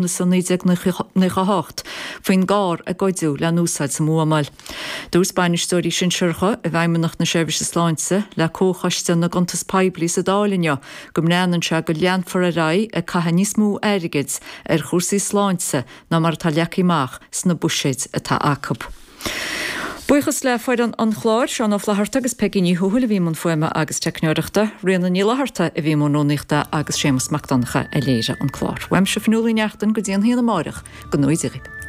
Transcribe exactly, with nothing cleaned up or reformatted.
Lúnasa naoi déag nócha a hocht faoin gcarr a goideadh le n-úsáid sa mbuamáil. Dúirt bainisteoirí sinsearacha i bhFeidhmeannacht na Seirbhíse Sláinte le Comhchoiste na gCuntas Poiblí sa Dáil inniu go mbreathnaíonn sé go leanfar ar aghaidh ag caitheamh níos mó airgid ar chúrsaí sláinte ná mar atá leagtha amach sna buiséid atá acu. Buíochas le foireann an chláir, Seán Ó Flatharta agus Peigí Ní Thuathail a bhí i mbun fuaime agus teicneoireachta, Ríona Ní Fhlatharta a bhí i mbun rúnaíochta agus Séamus Mac Donncha a léirigh an clár. Uaimse Fionnuala Ní Neachtain go dtí an haon amárach, go ngnóthaí Dia dhaoibh.